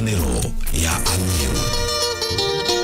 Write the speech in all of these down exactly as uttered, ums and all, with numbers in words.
Nero ya Amiru.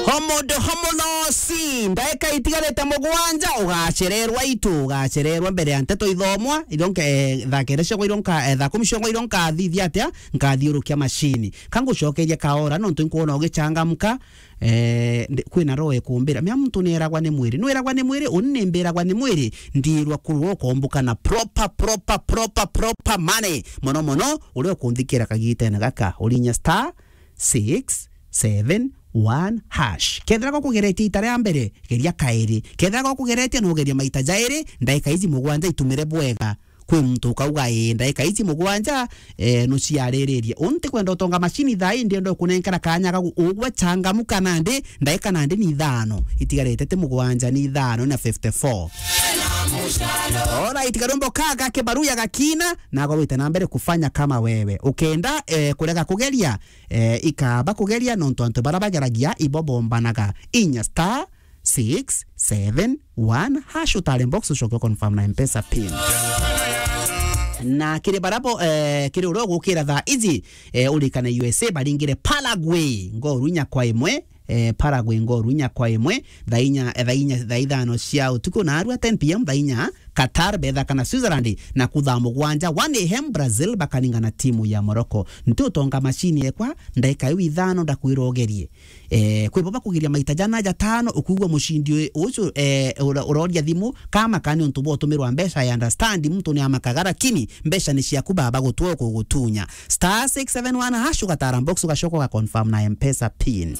Homodo homolosi, ndaika itigarite mugwanja, ugacererwa itu, ugacererwa mbere ya nteto ithomwa, ironka, eh, thaa kenda ciongwa ironka, eh, thaa kumi ciongwa ironka thithia atia, nkathiurukia macini. Kangucokeria kaora, nontu nkwona ugichangamka, eh, ndi-, kwina roho ikumbira. Mea muntu nieragwa ni mwiri. Nwiragwa ni mwiri, uni nimbiragwa ni mwiri, ndirwa kurwa ukombuka na proper, proper, proper, proper money. Mono mono, uria ukunthikira kagitene gaka, urinya star six seven one hash. Kethira gokugeretie ita ria mbere, geria kairi. Kethira gokugeretie, no ugerie maita jairi, ndaika iji mugwanja itumire bwega. Kwi muntu ukauga, "Ii, ndaika iji mugwanja, eh, nuciariririe." Unti kwenda utonga macini thaa ii, ndienda ukunenkera kanya gagu ugwe changamuka nandi, ndaika nandi ni ithano. Itigarite ti mugwanja, ni ithano na fifty-four. Alright, karumbo kaka kibaruya gakina, nago wite na mbere kufanya kama wewe. Ukenda, eh, kurega kugeria, eh, ikaba kugeria nontu antu bara bageragia ibo bombanaga. Inya star six seven one hash utare box ucoke confirm na M-Pesa pin. Na kiri barabo, eh, kiri uria ugukira thaa iji, eh, urikane U S A baringire Paraguay ngoru inya kwa imwe, eh, Paraguay ngoru inya kwa imwe, thaa inya, eh, thaa inya, thaa ithano cia utuku, na arua ten P M thaa inya Qatar betha kana Switzerland, na kuthaa mugwanja one A M Brazil bakaninga na timu ya Morocco. Nti utonga macini ekwa, ndaika iu ithano ndakwira ugerie. Eh, kwi bo bakugeria maita jana jatano, ukwigua mucindi uyu, ucu, eh, ura-, uroria thimu, kama kani untu bwa utumirwa mbeca, I understand, muntu ni amakaga, lakini mbeca ni ciaku baba gutwa kugutunya. Star six seven one hash ugatara box ugacoka uga confirm na M-Pesa pin.